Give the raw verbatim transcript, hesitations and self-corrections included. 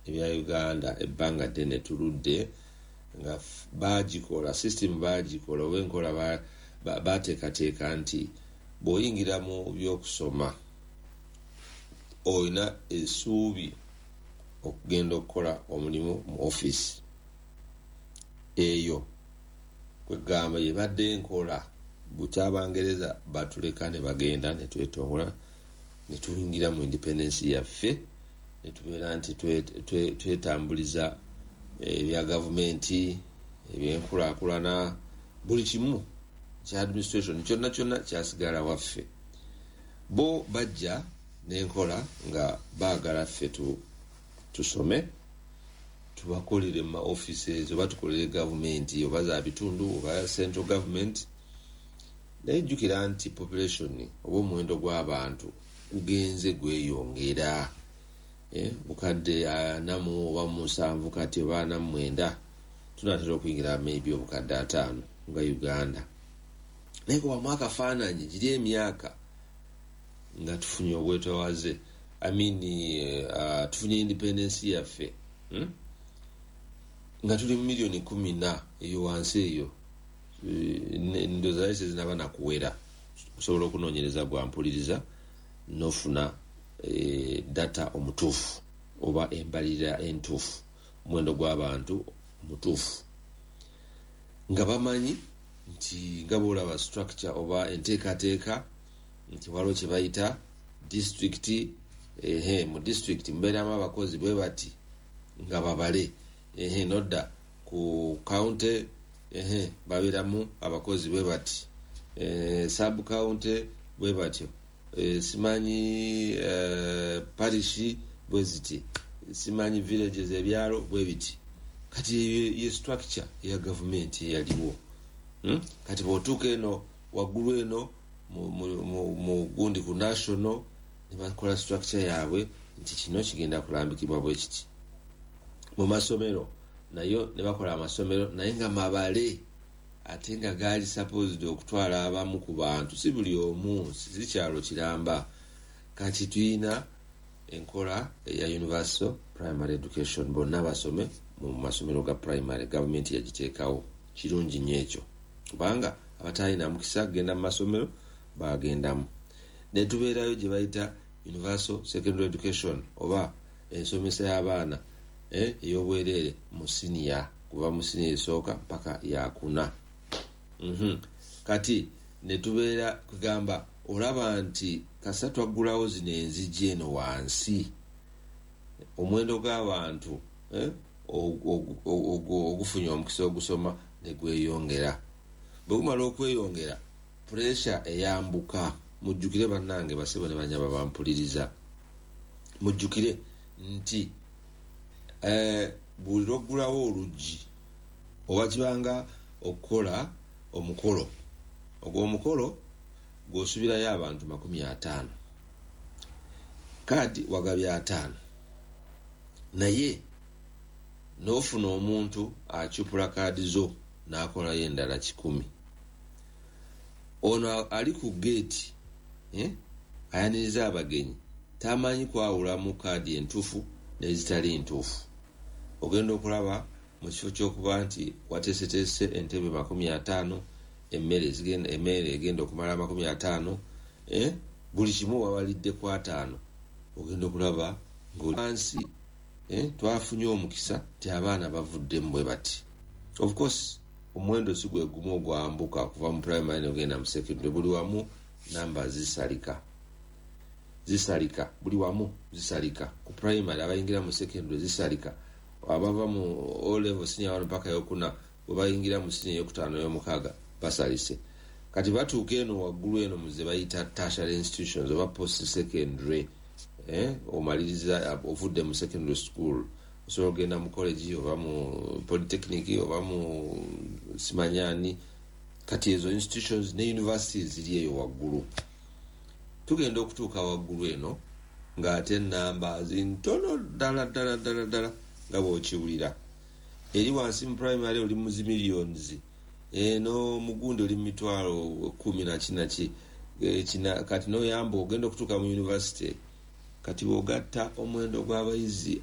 Ebya Uganda ebbanga ddene tuludde nga bagikola system, bagikola oba enkola, bateekateeka nti bw'oyingira mu byokusoma olina essuubi okugenda okukola omulimu mu offisi eyo. Kwegamba yebadde enkola bukyabangereza batuleka ne bagenda, ne twetongola, ne tuyingira mu independence yaffe, ne tubeera nti twetambuliza ebya gavumenti, ebyenkulaakulana, buli kimu kya administration kyonna kyonna kyasigala waffe. Bo bajja n'enkola nga baagala ffe tusome, tubakolere mu ma offices oba tukolere gavumenti, oba za bitundu oba central government. Naye jjukira nti population oba omuwendo gw'abantu gugenze gweyongera, eh, bukadde ana mu oba musanvu kati oba ana mu mwenda, tunatera okuyingira maybe obukadde ataano nga Uganda. Naye kubamu akafaananyi giri emyaka nga tufunye obwetowaze, I mean, uh, tufunye independence yaffe, hmm? Nga tuli mu miliyoni kumi na eyo wansi eyo, eh, ndowooza naye tezinaba nakuwera. Osobola okunoonyereza, gwampuliriza, nofuna e, data omutuufu oba embalirira entuufu, omuwendo gw'abantu omutuufu, nga bamanyi nti nga boolaba structure oba enteekateeka nti waliwo kye bayita district. Ehe, mu district mubeeramu abakozi bwe bati nga babale. Ehe, nodda ku county, ehe, babeeramu abakozi bwe bati, e, sub county bwe batyo, e, simanyi e, parish bwe ziti, simanyi villages, ebyalo bwe biti. Kati ye structure eya gavumenti eyaliwo, hmm? Kati bw'otuuka eno waggulu eno mu gundi ku national, ne bakola structure yaabwe nti kino kigenda kulambikibwa bwe kiti. Mu masomero nayo ne bakola amasomero, naye nga mabale, ate nga gaali supposed okutwala abamu ku bantu, si buli omu, si kyalo kiramba. Kati tuyina enkola eya universal primary education, bonna basome mu masomero ga primary, gavumenti yagiteekawo. Kirungi nnyo ekyo, kubanga abatalina mukisa kugenda mu masomero bagendamu. Netubeerayo gye bayita universal secondary education oba ensomesa y'abaana eh, ey'obwereere mu siniya, kuva mu siniya esooka mpaka yakuna. mm -hmm. Kati netubeera kugamba, olaba nti kasa twaggulawo zino enzigi eno wansi, omuwendo gw'abantu eh, ogufunye omukisa ogusoma negweyongera. Bwe gumala okweyongera, pressure eyambuka. Mujjukire bannange, basebo ne banyaba bampuliriza, mujjukire nti eh, buli lwoggulawo oluggi oba kibanga okukola omukolo, ogwo omukolo gw'osubirayo abantu makumi ataano, kaadi wagabye ataano, naye n'ofuna omuntu akyupula kaadi zo n'akolayo endala kikumi. Ono ali ku geeti, eh, ayaniriza abagenyi, tamanyi kwawulamu kaadi entuufu n'ezitali ntuufu. Ogenda okulaba mu kifo ky'okuba nti wateeseteese entebe makumi ataano, emmere emmere egenda okumala makumi ataano, eh, buli kimu wabalidde ku ataano, ogenda okulaba ngawansi eh, twafunye omukisa nti abaana bavuddemu bwe bati. Of course omuwendo si gwe gumu ogwambuka kuva mu primary nogenda mu secondary. Buli wamu namba zisalika, zisalika, buli wamu zisalika. Ku primary abayingira mu secondary zisalika, abava mu O level senior one mpaka yokuna bwe bayingira mu senior eyokutaano, eyomukaaga, basalise. Kati batuuka eno waggulu eno muze bayita tertiary institutions oba post secondary, eh, omaliriza ovudde mu secondary school, osobola okugenda mu college oba mu polytechnic oba mu simanyani. Kati ezo institutions ne universities ziri eyo waggulu. Tugenda okutuuka waggulu eno ng'ate namba zintono ddala ddala ddala ddala nga bw'okiwulira. Eri wansi mu primary oli mu zi millions, eno mugundi oli mu mitwalo kumi naki naki. Kati noyamba ogenda okutuuka mu university, kati bw'ogatta omuwendo gw'abayizi.